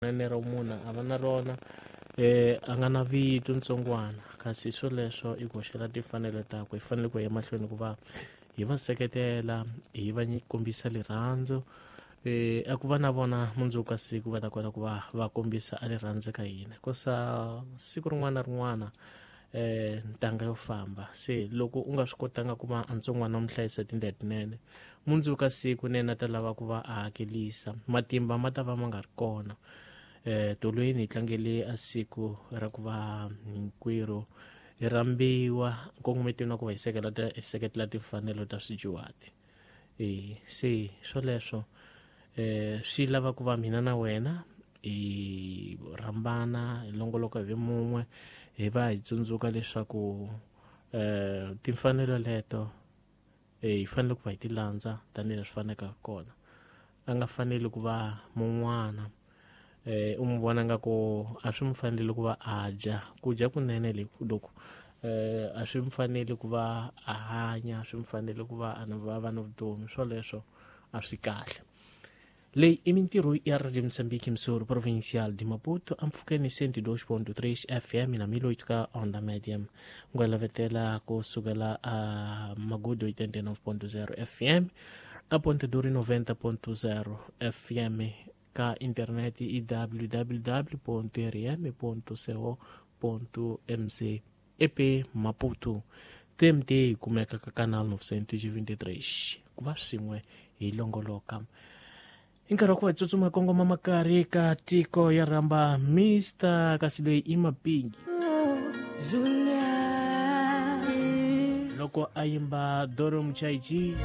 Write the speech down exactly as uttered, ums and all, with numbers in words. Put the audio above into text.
Rinene ra munhu a va na rona, eh a nga na vito ntsongwana, kasi swoleswo i koxela timfanelo takwe. Hi fanele ku ya emahlweni ku va hi va seketela, hi va kombisa rirhandzu, eh a ku va na vona mundzuku ka siku va ta kota ku va va kombisa a rirhandzu ka hina, kosa siku rin'wana na rin'wana eh ntanga yo famba. Se loko u nga swi kotanga ku va ntsongwana u mu hlayisa tindlela tinene, mundzuku ka siku nene a ta lava ku va a hakelisa, matimba ma ta va ma nga ri kona. Eh tolweni hi tlangele a siku ra ku va hinkwerhu hi rhambiwa nkongometweni wa ku va hi seketela hi seketela timfanelo ta swidyuhati. E se swoleswo eh swi lava ku va mina na wena hi rhambana, hi longoloka hi ve mun'we, hi va hi tsundzuka leswaku eh timfanelo leto eh hi fanele ku va hi ti landza tanihileswi faneleke kona. A nga faneli ku va mun'wana eh u n'wi vona nga ku a swi n'wi fanele ku va a dya ku dya kunene loko eh a swi n'wi fanele ku va a hanya, swi n'wi fanele ku va a va va na vutomi. Swoleswo a swi kahle. Leyi i mintirho ya Radio Moçambique, emissora provincial de Maputo, ampfhukeni cento e dois ponto três F M na mil oito ka onda média. Ngwelavetela ku sukela a Magudu oitenta e nove ponto zero F M, a Ponta Dura noventa ponto zero F M, ka internet i w w w ponto r m ponto co ponto m z. E P Maputo T M T yi kumeka ka canal novecentos e vinte e três. Ku va swin'we hi longoloka. Hi nkarhi wa ku va hi tsutsuma kongoma makari ka tiko ya rhamba Mister kasi loyi i Mapingi loko a yimba Doro Muchaichi.